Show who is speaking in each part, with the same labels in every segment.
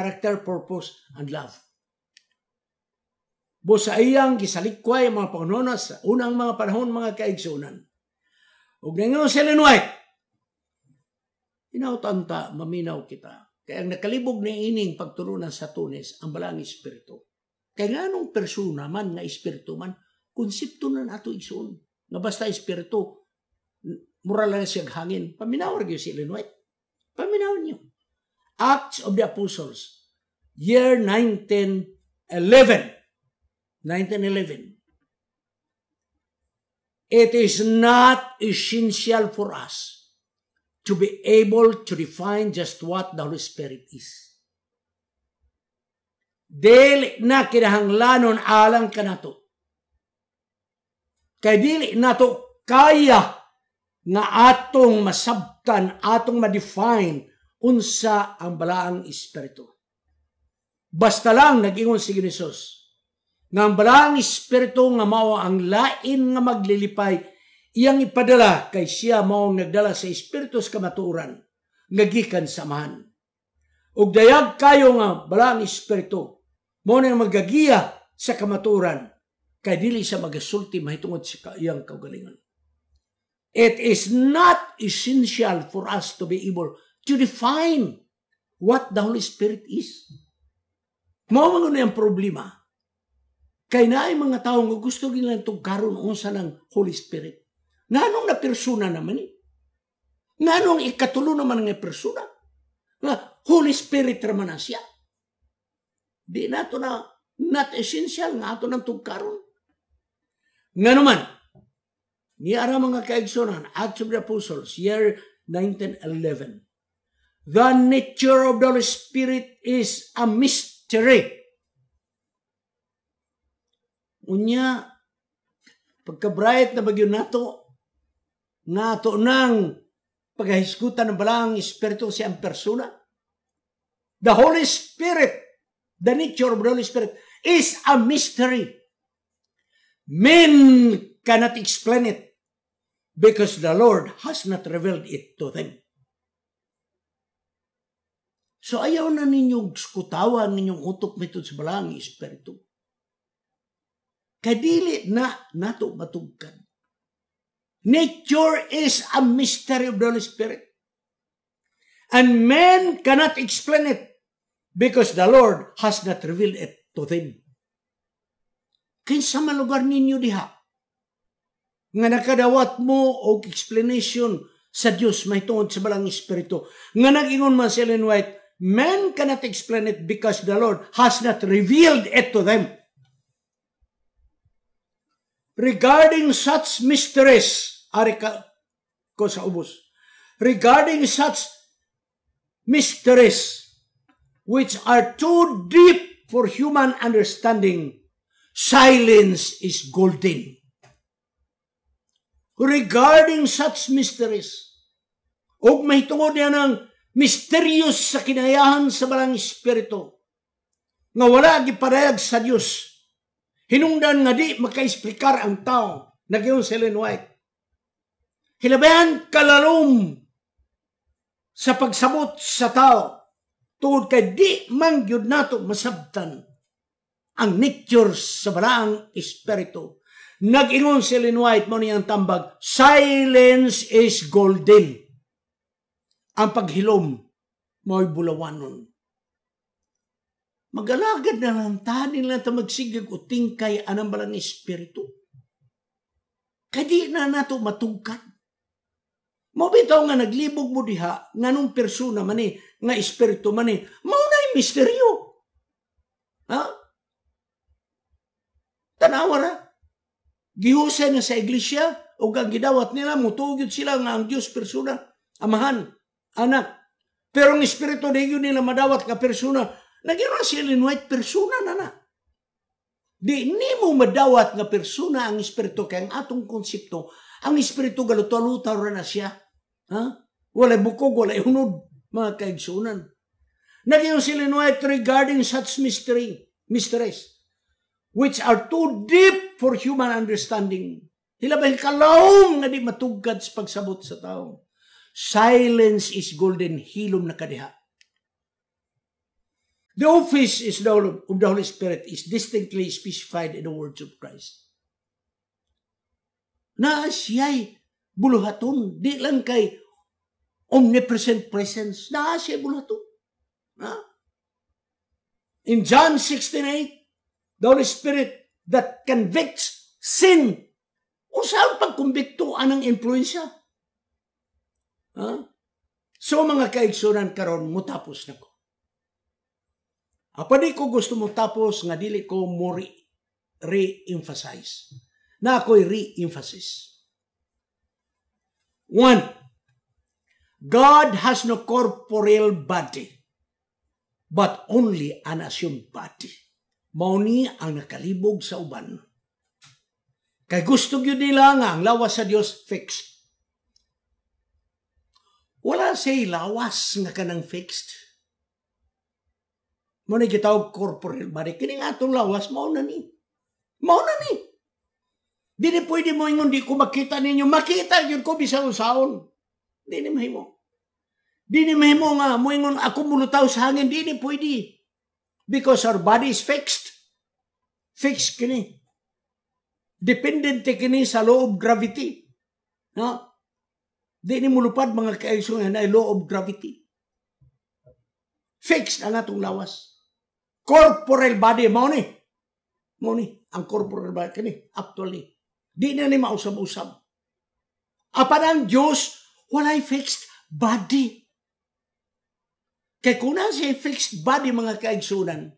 Speaker 1: Character, purpose, and love. Busa iyang gisalikway ang mga panghunahuna sa unang mga panahon, mga kaigsunan. Ug ningon si Ellen White, hinaut ta maminaw kita. Kaya ang nakalibog ni ining pagtulunan sa Tunes, ang Balaang Espiritu. Kaya nganong persona man nga espiritu man, konsepto na nato, igsoon. Nga basta espiritu, mura lang siya hangin. Paminaw gyud si Ellen White. Paminaw niyo. Acts of the Apostles, year 1911. 1911. It is not essential for us to be able to define just what the Holy Spirit is. Dili na kinahanglanon alang kanato. Kay dili nato kaya nga atong masabtan, atong ma-define unsa ang Balaang Espiritu. Basta lang nag-ingon si Jesus nga ang Balaang Espiritu nga mao ang lain nga maglilipay iyang ipadala kay siya mao ang nagdala sa Espiritu sa kamatuoran nga gikan sa Amahan. Ug dayag kayo nga Balaang Espiritu mao nang magagiya sa kamatuoran kay dili siya magasulti mahitungod sa iyang kaugalingon. It is not essential for us to be able to define what the Holy Spirit is. Mao man ang problema. Kay naay mga tao nga gusto nilang tugkaron unsa ng Holy Spirit. Nganong na persona naman eh? Nganong ikatulo naman nga persona? Nga Holy Spirit raman na siya. Di nato na not essential nga ato nang tugkaron. Nga naman, ni ara, mga kaigsunan, Acts of the Apostles, year 1911. The nature of the Holy Spirit is a mystery. Unya, pagka-bright na bagyo nato, nato nang paghahisgutan ng Balaang Espiritu si ang persona. The Holy Spirit, the nature of the Holy Spirit is a mystery. Men cannot explain it because the Lord has not revealed it to them. So ayaw na ninyong skutawan ninyong utok mitod sa Balaang Espiritu. Kadili na nato matugkad. Nature is a mystery of the Holy Spirit. And men cannot explain it because the Lord has not revealed it to them. Kinsa man lugar ninyo diha nga nakadawat mo og explanation sa Dios mahitungod sa Balaang Espiritu? Nga nag-ingon man si Ellen White, men cannot explain it because the Lord has not revealed it to them. Regarding such mysteries, ari ka ko sa ubos. Regarding such mysteries which are too deep for human understanding, silence is golden. Regarding such mysteries, ug mahitungod niya ng mysterious sa kinayahan sa Balaang Espiritu, nga wala gipadayag sa Dios, hinungdan nga di makaesplikar ang tao, nagyon si Ellen White. Hilabihan kalalom sa pagsabot sa tao, tungod kay di man gyud nato masabtan ang nature sa Balaang Espiritu. Nag-ingon si Ellen White, mo niyang tambag, silence is golden. Ang paghilom, mo'y bulawanon. Magalagad na lang ta, nila ta magsigag o tingkay anang Balaang Espiritu. Kadi na nato matugkad. Mo bitaw nga naglibog mo diha, nganong persona man eh, nga espiritu man eh, mao na misteryo. Ha? Tanawa ra. Gihusay na sa iglesia, o ang gidawat nila, mutuo sila nga ang Diyos persona, Amahan, Anak. Pero ang espiritu di yun nila madawat nga persona, nag-ingon si Ellen White, persona na na. Di nimo madawat nga persona ang espiritu kay ang atong konsepto, ang espiritu galuto-lutaw ra na siya. Ha? Walay bukog, walay hunod, mga kaigsunan. Nag-ingon si Ellen White regarding such mysteries, which are too deep for human understanding. Hilabay kalawom nga di matugkad sa pagsabot sa tao. Silence is golden, hilom na kadiha. The office of the Holy Spirit is distinctly specified in the words of Christ. Na siya'y buluhaton, di lang kay omnipresent presence, na siya'y buluhaton. Na? In John 16:8, the Holy Spirit that convicts sin. Unsa ang pagkumbikto anang influensya? Ha? So mga kaigsunan, karon mutapos na ko. Apa di ko gusto mo tapos nga dili ko mo re-emphasize. Na ako'y re-emphasis. One, God has no corporeal body, but only an assumed body. Mao ni ang nakalibog sa uban. Kay gusto gyud nila nga ang lawas sa Dios fixed. Wala siya'y lawas nga kanang fixed. Mao ni gitawag corporeal body. Kini nga atong lawas, mao na ni. Mao na ni. Dili pwede mo ingon, "Di ko makita ninyo." Makita gyud ko bisan unsaon. Di ni mahimo. Di ni mahimo nga moingon ako mulutaw sa hangin. Di ni pwede. Because our body is fixed. Fixed kini. Dependente kini sa law of gravity. No? Di ni mulupad, mga kaigsuonan, na law of gravity. Fixed ang atong lawas. Corporeal body, mao ni. Mao ni, ang corporeal body kini, actually. Di na ni mausab-usab. Apan ang Diyos, walay fixed body. Kay kung na siya fixed body, mga kaigsunan,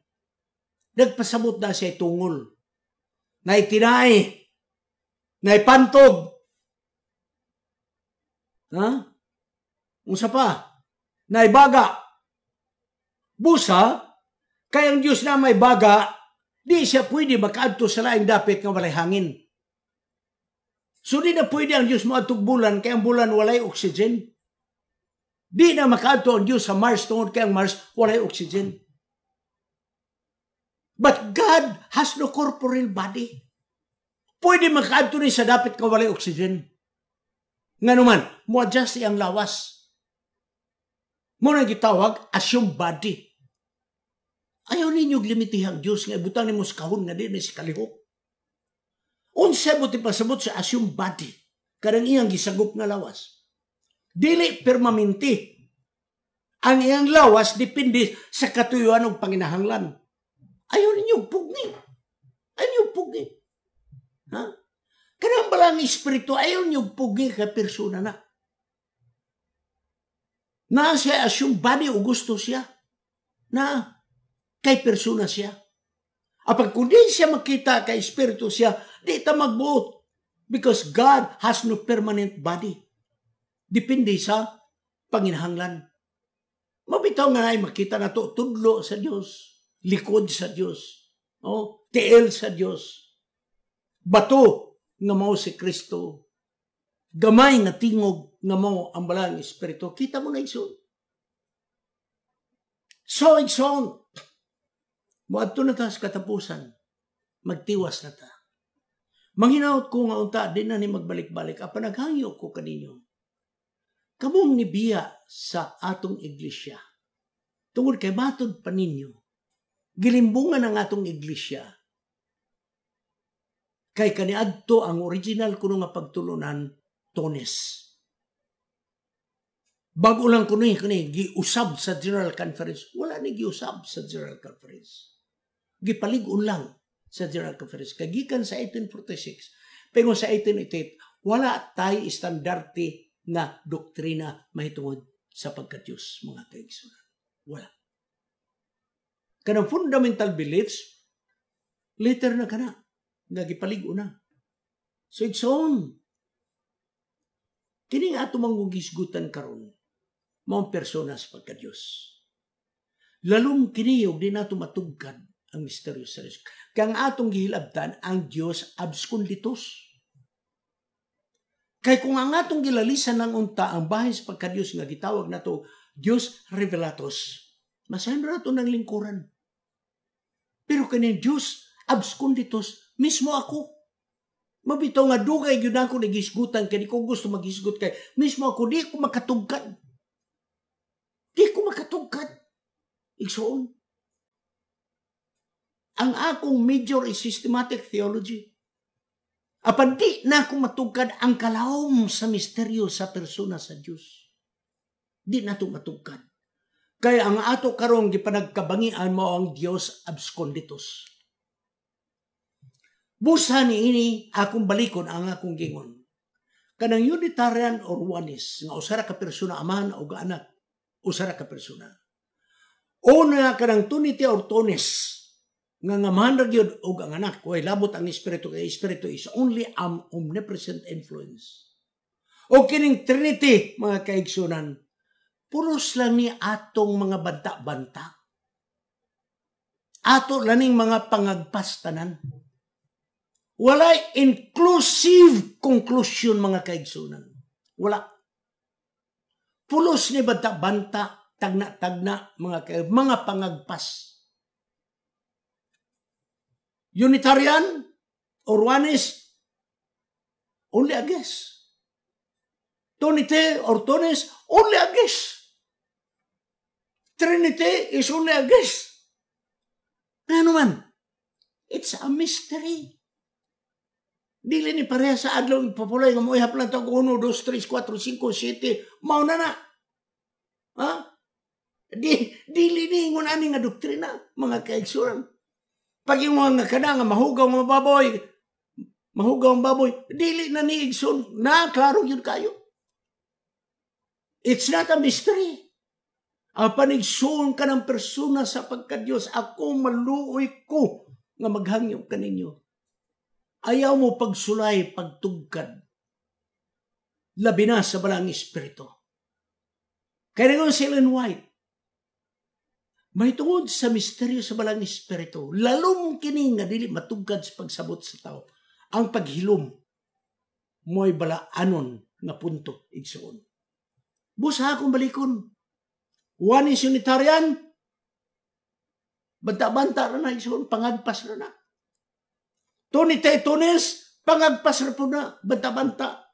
Speaker 1: nagpasabot na siya tungol. Na itinay, na ipantog. Ha? Unsa pa? Na ibaga. Busa, kay ang Diyos na may baga, di siya pwede makaadto sa laing dapit nga walay hangin. So di na pwede ang Diyos moadtog bulan kay ang bulan walay oxygen. Di na makaadto ang Diyos sa Mars tungod kay ang Mars walay oxygen. But God has no corporeal body. Pwede makaadto ni sa dapit nga walay oxygen. Nga naman, mo-adjust iyang lawas. Mao na gitawag assumed body. Ayaw ninyo limitihan ang Diyos nga ibutang nimo sa kahon nga di ni si kalihok. Unsa mo pasabot sa assumed body? Kanang iyang gisagop nga lawas. Dili permanente. Ang iyang lawas depende sa katuyuan og panginahanglan. Ayaw ninyo pugni. Ayaw ninyo pugni. Ha? Kanang balang espiritu, ayaw ninyo pugni kay persona na. Na siya assumed body o gusto siya. Na kay persona siya. Apag kung di siya makita kay espiritu siya, di ta magbuot. Because God has no permanent body. Depende sa panginahanglan. Mabitaw nga ay makita na to, tudlo sa Dios, likod sa Dios, oh, tiil sa Dios. Bato nga mao si Kristo. Gamay nga tingog nga mao ang balang espiritu. Kita mo na, igsoon. So, igsoon, moadto na ta sa katapusan. Magtiwas na ta. Manghinaot ko nga unta di na ni magbalik-balik apan naghangyo ko kaninyo. Kamong nibiya sa atong iglesia. Tungod kay matod pa ninyo, gilimbungan ang atong iglesia. Kay kaniadto ang original kuno nga pagtulunan Tones. Bago lang kuno kani giusab sa General Conference. Wala ni giusab sa General Conference. Gipalig-on lang sa General Conference. Kay gikan sa 1846, pero sa 1888, wala tay estandarte na doktrina mahitungod sa pagka-Diyos, mga kaigsunan. Wala. Kanang fundamental beliefs, later na kana, nga gipalig-on na. So igsoon, kini nga ato manggugisgutan karon, maong persona sa pagka-Diyos. Lalong kini og di nato matugkad ang misteryo sa Diyos. Kaya ang atong gihilabtan, ang Diyos absconditus. Kay kung ang atong gilalisan ng unta ang bahin sa pagka-Diyos nga gitawag nato Diyos revelatus, masahin nato ng lingkuran. Pero kani Diyos absconditus, mismo ako. Mabitaw nga dugay gyud ako nagisgutan kay di ko gusto magisgot kay mismo ako di ko makatugkad. Di ko makatugkad. Igsoon. Ang akong major is systematic theology. Apan di na ako matugkad ang kalawom sa misteryo sa persona sa Dios. Di na to matugkad. Kaya ang ato karong gipanagkabangian mo ang Dios absconditus. Busa ni ini akong balikon ang akong gingon. Kanang Unitarian or Oneness nga usa ra ka persona amahan o anak, usa ra ka persona. Una kanang Trinity or Twoness nga ngamahan ra gyud og ang anak, way labot ang espiritu, kay espiritu is only an omnipresent influence. O kining Trinity, mga kaigsunan, pulos lang ni atong mga banta-banta. Ato laning mga pangagpas tanan. Walay inclusive conclusion, mga kaigsunan. Wala. Pulos ni banta-banta, tagna-tagna, mga pangagpas. Unitarian or Oneness, only a guess. Trinity or Twoness, only a guess. Trinity is only a guess. Ano man? It's a mystery. Dili ni pareha sa adlaw ipapulay nga moihap lang tag 1, 2, 3, 4, 5, 7, mao na na. Ha? Dili ni ingon ani nga doktrina, mga kaigsuran. Pag yung mga kana nga mahugaw nga baboy, mahugaw ang baboy, dili na ni igsoon, na klaro yun kayo. It's not a mystery. Ang panigsuon ka ng persona sa pagka-Diyos, ako maluoy ko nga maghangyo kaninyo. Ayaw mo pagsulay, pagtugkad. Labi na sa Balaang Espiritu. Kaya nga si Ellen White, may tungod sa misteryo sa Balaang Espiritu, lalom kini nga dili matugkad sa pagsabot sa tao. Ang paghilom mo'y balaanon nga punto, igsoon. Busa akong balikon. One is Unitarian, banta-banta ra na, igsoon, pangagpas ra na. Trinity, Twoness, pangagpas ra po na, banta-banta.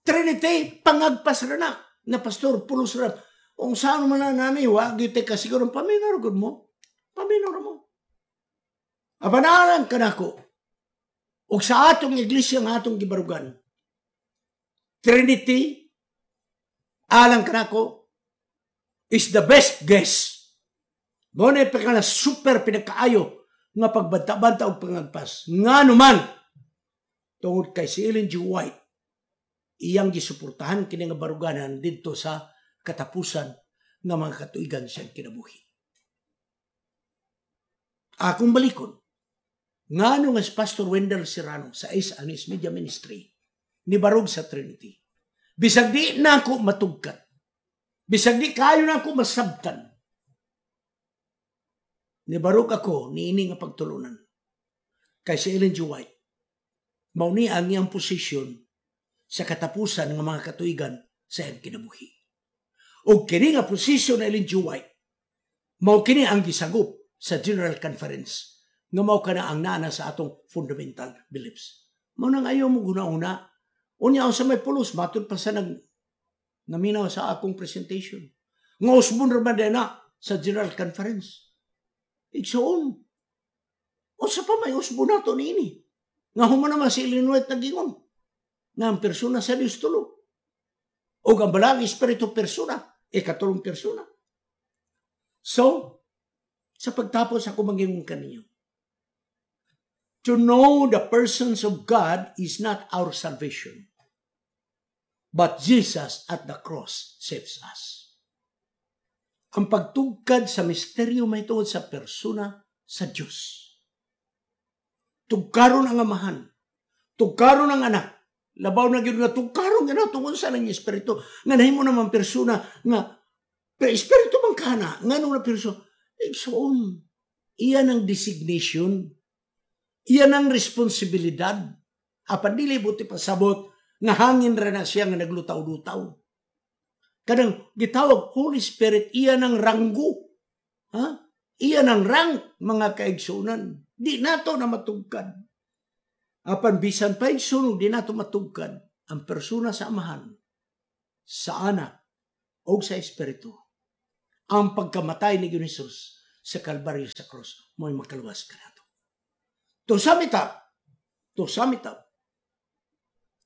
Speaker 1: Trinity, pangagpas ra na, na pastor, pulos ra. Kung saan man na nanay, wag gyud ka siguro paminor gud mo. Paminor mo. Apanalan ka nako. Og sa atong iglesia nga atong gibarugan, Trinity, alang kanako, is the best guess. Mo na na super pinakaayo nga pagbanta-banta og pangagpas. Nga naman, tungod kay si Ellen G. White, iyang gisuportahan kini nga baruganan didto sa katapusan nga mga katuigan siyang kinabuhi. Akong balikon, ngano nga si Pastor Wendell Serrano sa Is Anis Media Ministry ni barog sa Trinity. Bisag di na ako matugkat. Bisag di kayo na ako masabtan. Nibarog ako niini nga pagtulunan. Kay si Ellen G. White, mao ni ang iyang posisyon sa katapusan ng mga katuigan sa iyang kinabuhi. O kini nga posisyon ni Ellen G. White, mao kini ang gisagop sa General Conference nga mao kana ang naana sa atong fundamental beliefs. Mao nang ayaw mo guna-una. Unya sa may pulos, matud pa sa naminaw sa akong presentation. Nga usbon ra man na sa General Conference. Igsoon. Unsa pa may usbon nato niini? Nga human naman si Ellen White nagingon. Nga ang persona sa Dios tulo. O ang Balaang Espiritu persona, ikatulong persona. So, sa pagtapos ako mangingon kaninyo. To know the persons of God is not our salvation. But Jesus at the cross saves us. Ang pagtugkad sa misteryo may tungod sa persona sa Diyos. Tugkaron ang amahan. Tugkaron ang anak. Labaw na gyud nga tugkaron nga tungod sa nang espiritu. Nga nahimo naman persona nga pero espiritu man kana ngano na persona. Igsoon. Iyan ang designation. Iyan ang responsibilidad. Apan dili buti pasabot nga hangin ra na siya nga naglutaw-lutaw. Kanang gitawag Holy Spirit, iyan ang ranggo. Ha? Iyan ang rank, mga kaigsunan. Di nato na matugkad. Apan bisan pa igsunog, di nato matugkad ang persona sa Amahan, sa Anak, o sa Espiritu. Ang pagkamatay ni Jesus sa Kalbaryo, sa cross, mo'y makaluwas kanato. To sum it up, to sum it up,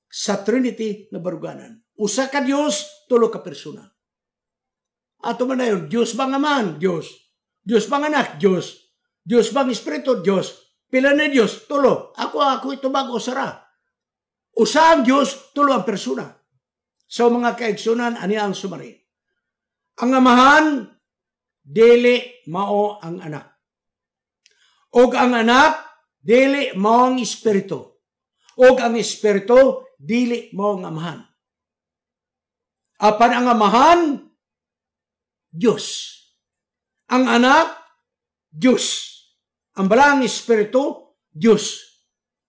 Speaker 1: sa Trinity nga baruganan, usa ka Dios, tulo ka persona. Ato man na yun, Diyos bang Amahan? Diyos. Diyos bang Anak? Diyos. Diyos bang Espiritu? Diyos. Pila na Diyos? Tulo. Ako itubag, usara. Usa ang Diyos, tulo ang persona. So mga kaigsunan, ani ang summary. Ang Amahan, dili mao ang Anak. Og ang Anak, dili mao ang Espiritu. Og ang Espiritu, dili mao ang Amahan. Apan ang Amahan, Diyos. Ang Anak, Diyos. Ang Balaang Espiritu, Diyos.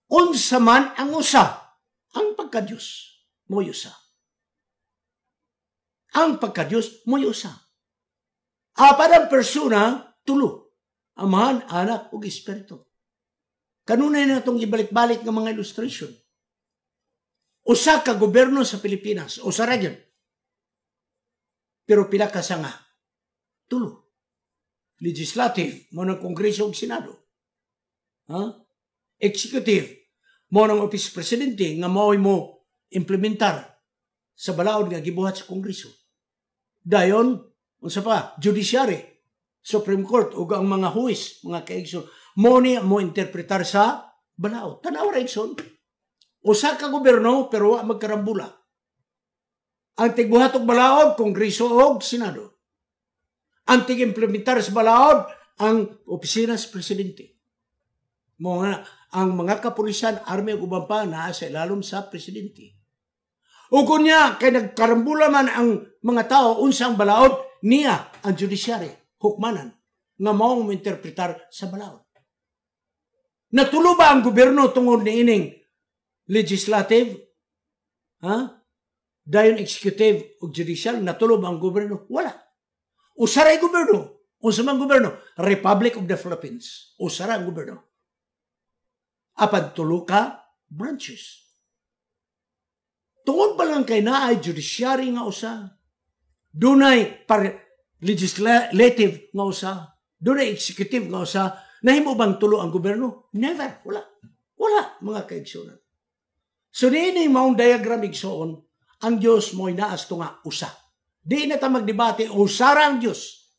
Speaker 1: Unsa man ang usa, ang pagka-Diyos, mo'y usa. Ang pagka-Diyos, mo'y usa. Apan ang persona, tulo. Amahan, Anak, ug Espiritu. Kanunay na itong ibalik-balik ng mga illustration. Usa ka gobyerno sa Pilipinas, usa ra gyud. Pero pila ka sanga? Tulo. Legislative, mo ng Kongreso ug Senado. Ha? Executive, mo ng Office Presidente nga mao'y mo implementar sa balaod nga gibuhat sa Kongreso. Dayon, unsa pa, judiciary, Supreme Court ug ang mga huwes, mga kaigsoon, mo ni mo interpretar sa balaod. Tanaw ra, igsoon. Usa ka gobyerno pero wa magkarambula. Ang tigbuhat og balaod, Kongreso og Senado. Ang tig-implementar sa balaod, ang opisina sa presidente. Mo nga, ang mga kapulisan, army ug uban pa naa sa ilalom sa presidente. O kunya kay nagkarambula man ang mga tao unsa ang balaod, niya ang judiciary, hukmanan, nga maong mointerpretar sa balaod. Natulo ba ang gobyerno tungod niining legislative? Ha? Dayon executive ug judicial, natulo ba ang gobyerno? Wala. Usa ra gobyerno. Unsa man gobyerno? Republic of the Philippines. Usa ra ang gobyerno. Apan tulo ka branches. Tungod pa lang kay naay judiciary nga usa, dunay legislative nga usa, dunay executive nga usa, nahimo bang tulo ang gobyerno? Never. Wala. Wala, mga kaigsunan. So, niini maong diagram, igsoon, ang Diyos mo'y naas nga usa. Di na ta magdebate, usara ang Diyos.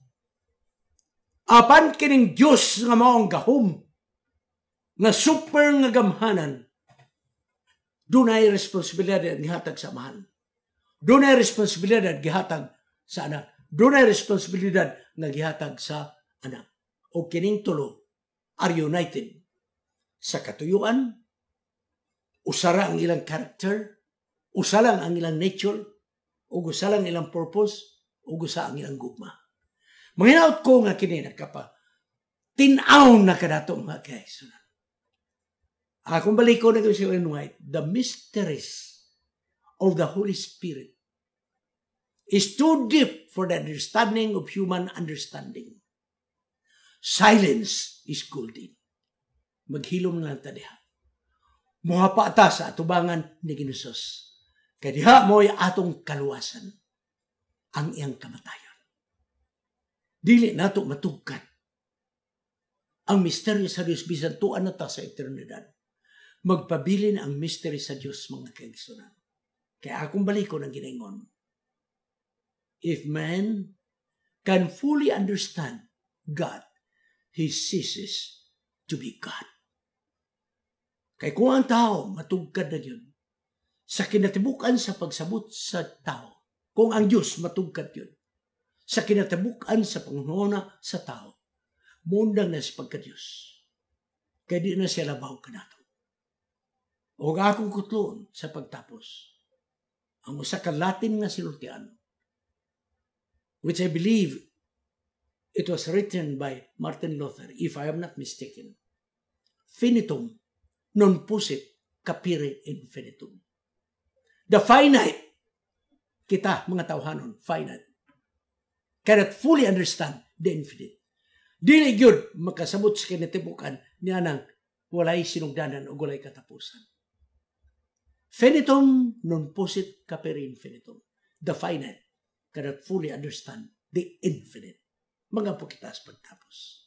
Speaker 1: Apan kining Diyos nga maong gahom, nga super nga gamhanan, dunay responsibilidad gihatag sa Amahan. Dunay responsibilidad gihatag sa Anak. Dunay responsibilidad nga gihatag sa Anak. O kining tulo are united sa katuyuan, usara ang ilang character, usa lang ang ilang nature, ug usa lang ilang purpose, ug usa ang ilang gugma. Manginaot ko nga kini nagkapa tin-aw na kanato, mga kaigsunan. Akong baliko na si Ellen White, "The mysteries of the Holy Spirit is too deep for the understanding of human understanding. Silence is golden." Maghilom na lang ta diha. Muhapa ta sa atubangan ni Ginoo. Kay diha mo'y atong kaluwasan, ang iyang kamatayon. Dili nato matugkat ang misteryo sa Dios bisan tuan na ta sa eternidad. Magpabilin ang mystery sa Dios, mga kaigsunan. Kaya akong baliko ng ginaingon. If man can fully understand God, he ceases to be God. Kay kung ang tao matugkad na yun, sa kinatibukan sa pagsabot sa tao, kung ang Diyos matugkad yun, sa kinatibukan sa panghuna sa tao, mundang na sa pagka-Diyos. Kaya di na siya labaw kanato. O akong kutloon sa pagtapos, ang usa ka Latin nga sinultian, which I believe it was written by Martin Luther, if I am not mistaken. "Finitum non possit capire infinitum." The finite, kita mga tawhanon, finite, cannot fully understand the infinite. Dili gyud makasabot sa kinatibukan niya nang walay sinugdanan o walay katapusan. Finitum non possit capere infinitum. The finite cannot fully understand the infinite. Mga po kita sa pagtapos.